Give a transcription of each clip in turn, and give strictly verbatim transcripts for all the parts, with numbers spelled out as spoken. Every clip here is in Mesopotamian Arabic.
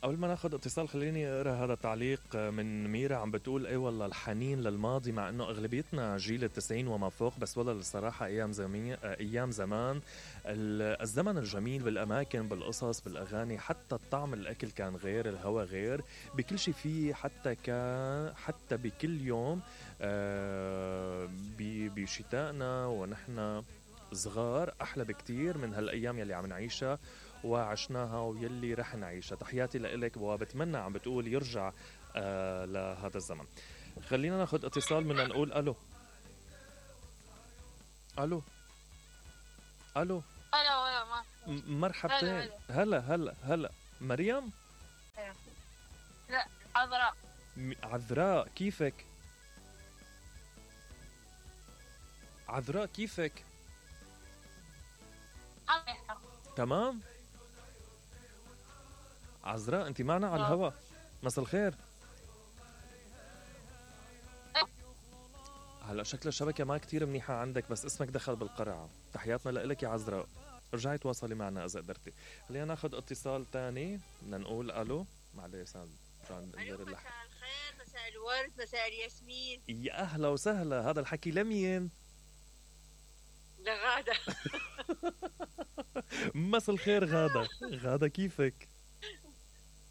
قبل ما ناخد اتصال خليني اقرا هذا التعليق من ميرا عم بتقول اي والله الحنين للماضي، مع انه اغلبيتنا جيل التسعين وما فوق، بس والله الصراحه ايام زمي... ايام زمان الزمن الجميل بالاماكن بالقصص بالاغاني، حتى الطعم الاكل كان غير، الهوا غير، بكل شيء فيه، حتى كان حتى بكل يوم آه بشتائنا ونحن صغار احلى بكتير من هالايام يلي عم نعيشها وعشناها ويلي رح نعيشها. تحياتي لإلك وبتمنى عم بتقول يرجع آه لهذا الزمن. خلينا ناخد اتصال من نقول الو الو الو الو الو ما مرحبتين. هلا هلا هلا مريم؟ لا عذراء. عذراء كيفك؟ عذراء كيفك؟ تمام. عذراء انت معنا على الهوا، مساء الخير. هلا شكل الشبكه ما كتير منيحه عندك، بس اسمك دخل بالقرعه. تحياتنا لك يا عذراء، ارجعي تواصلي معنا اذا قدرتي. خلينا ناخذ اتصال تاني، بدنا نقول الو. معلش سام الو مساء الخير، مساء الورد، مساء الياسمين. يا اهلا وسهلا، هذا الحكي لمين؟ لغادة. مساء الخير غادة. غادة كيفك؟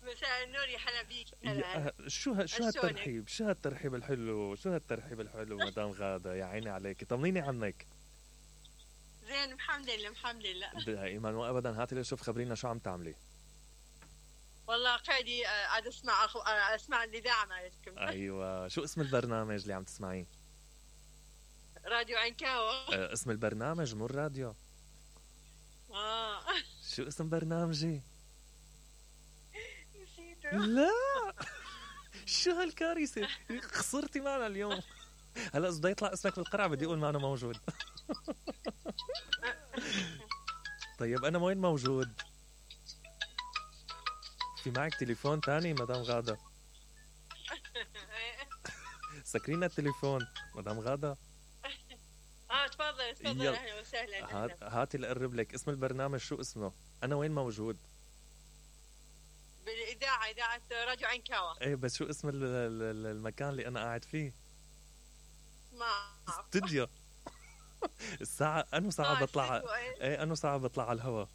مساء النور يا حلا بيك. يا شو ه... شو هالترحيب، شو هالترحيب الحلو، شو هالترحيب الحلو مدام غادة، يا عيني عليك. طمنيني عنك. زين الحمد لله الحمد لله دائما وابدا. هاتي لي شوف خبرينا شو عم تعملي. والله قاعدي قاعد اسمع اسمع الاذاعه مالتكم. ايوه، شو اسم البرنامج اللي عم تسمعيه؟ راديو عنكاوة. أه اسم البرنامج مو الراديو. اه شو اسم برنامجي؟ نسيته. لا شو هالكارثة، خسرتي معنا اليوم. هلا اذا بده يطلع اسمك بالقرعة بدي اقول معنا موجود. طيب انا وين موجود؟ في معك تليفون تاني مدام غادة؟ سكرينا التليفون مدام غادة. اه تفضل تفضل. اهلا وسهلا. هات هاتي لقرب لك. اسم البرنامج شو اسمه؟ انا وين موجود؟ بالاذاعه، اذاعه راديو عنكاوة. ايه بس شو اسم المكان اللي انا قاعد فيه؟ ما اعرف. استوديو. الساعة انو ساعة آه بطلع؟ ايه, ايه انو ساعة بطلع على الهوا؟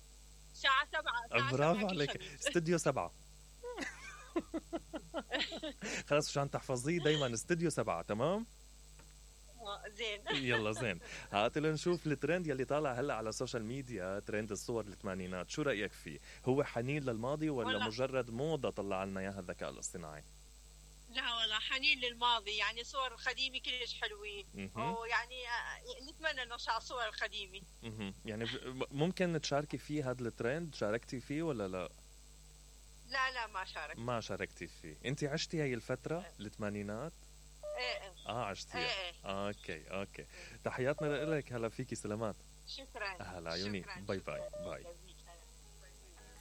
الساعة سبعة. برافو عليك، استوديو سبعة. خلاص عشان تحفظيه دايما استوديو سبعة. تمام زين. يلا زين. هات لنشوف الترند يلي طالع هلا على السوشيال ميديا، ترند الصور الثمانينات، شو رأيك فيه؟ هو حنين للماضي ولا والله مجرد موضة طلع لنا اياها الذكاء الاصطناعي؟ لا والله حنين للماضي، يعني صور القديمة كلش حلوين، ويعني نتمنى نرجع صور القديمة. يعني ممكن تشاركي فيه هذا الترند؟ شاركتي فيه ولا لا؟ لا لا ما شاركت. ما شاركتي فيه. انت عشتي هاي الفترة الثمانينات؟ ايه اه عشتيها. ايه. اوكي اوكي. تحياتنا لك. هلا فيكي، سلامات. شكرا. هلا عيوني. باي باي باي.